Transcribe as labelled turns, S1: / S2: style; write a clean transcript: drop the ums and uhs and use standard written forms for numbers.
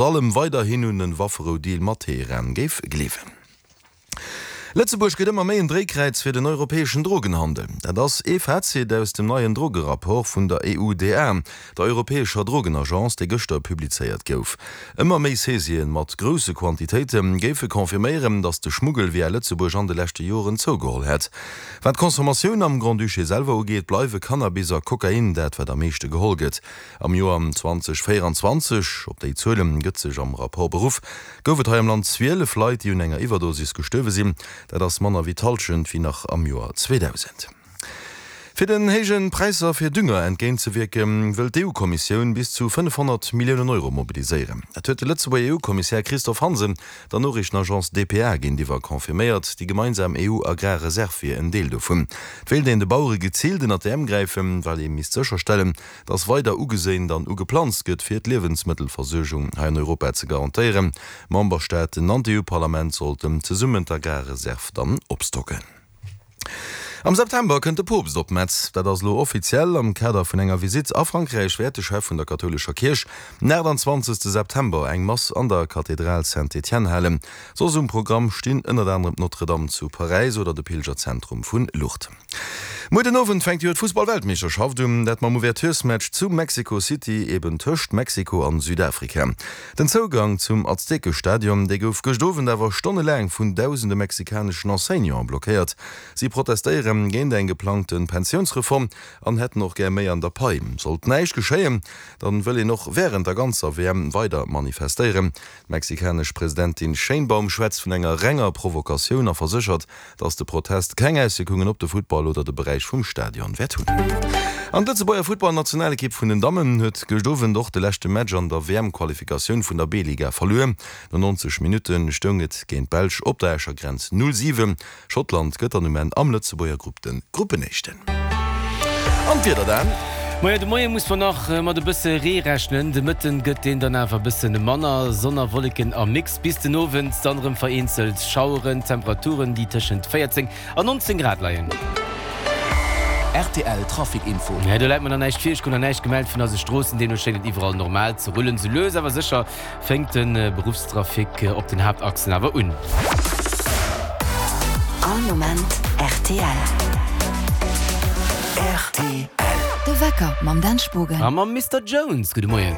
S1: Allem weiderhin un en Wafferou-Deal mat Teheran géif gleewen. Lëtzebuerg gëtt ëmmer méi en Dréikräiz fir den europäeschen Drogenhandel. Dat ass ee Fazit aus dem neien Drogerapport vun der EUDA, der europäescher Drogenagence, dee gëschter publizéiert gouf. Ëmmer méi Saisien mat grousse Quantitéite géife confirméieren, datt de Schmuggel via Lëtzebuerg an de leschte Joren zougeholl hätt. Wat d'Consommatioun am Grand-Duché selwer ugeet, bleiwe Cannabis a Kokain dat, wat am meeschte geholl gëtt. Am Joer 2024, op déi Zuele gëtt sech am Rapport beruff, gouf et hei am Land 12 Leit, déi un enger Iwwerdosis gestuerwe sinn. Dat ass manner wéi d'Hallschent wéi nach am Joer 2000. Fir den héije Präisser fir Dünger entgéintzewierken, wëll d'EU-Kommissioun bis zu 500 Milliounen Euro mobiliséieren. Dat huet de Lëtzebuerger EU-Kommissär Christophe Hansen der Noriichtenagence dpa géintiwwer confirméiert. Déi gemeinsam EU-Agrarreserv wier en Deel dovun. Et wéilt een de Bauere geziilt ënnert d'Äerm gräifen, well ee misst sécherstellen, dass weider ugeséint an ugeplanzt gëtt, fir d'Liewensmëttelversuergung hei an Europa ze garantéieren. D'Memberstaaten an d'EU-Parlament sollten zesummen d'Agrarreserv dann opstocken. Am September kënnt de Poopst op Metz. Dat ass elo offiziell. Am Kader vun enger Visitt a Frankräich wäert de Chef vun der kathoulescher Kierch den 28 September eng Mass an der Kathedral Saint-Étienne halen. Soss um Programm stinn ënnert anerem d'Notre-Dame zu Paräis oder de Pilgerzentrum vun Lourdes. Muer den Owend fänkt jo d'Fussball-Weltmeeschterschaft un, dat mam Ouverturesmatch zu Mexico City, eben tëscht Mexiko an Südafrika. Den Zougang zum Aztekestadion, dee gouf gëscht Owend awer stonnelaang vun dausende mexikaneschen Enseignanten blockéiert. Si protestéiere géint eng geplangte Pensiounsreform an hätten och gär méi an der Pai. Sollt näischt geschéien, dann wëll een och wärend der ganzer WM weider manifestéieren. D'mexikanesch Presidentin Sheinbaum schwätzt vun enger renger Provokatioun a verséchert, dass de Protest keng Auswierkungen op de Futtball oder de Beräich vum Stadion wäert hunn. An d'Lëtzebuerger Futtballnationalekipp vun den Dammen huet gëscht Owend och de leschte Match an der WM-Qualifikatioun vun der B-Liga verluer. No 90 Minutte stoung et géint d'Belsch op der Escher Grenz 0, 7. Schottland gëtt dann um Enn am Lëtzebuerger Grupp de Gruppenéischten. An d'Wieder dann?
S2: Moie, de Moie muss mer nach mat e bësse Ree rechnen, de Mëtten gëtt deen dann awer e bësse manner. Sonn a Wolleken am Mix, bis den Owend dann erëm vereenzelt Schaueren. Temperaturen déi tëschent 14 an 19 Grad leien.
S3: Rtl Trafic Info.
S2: Do läit mer nach näischt vir, ech krut nach näischt gemellt vun eise Stroossen, deemno schéngt et iwwerall normal ze rullen. Sou lues awer sécher Fénkt de Beruffstrafic op den Haaptachsen awer un.
S4: All Moment rtl.
S3: Rtl.
S4: De Wecker mam Dan Spogen.
S2: A mam Mister Jones. Gudde Moien.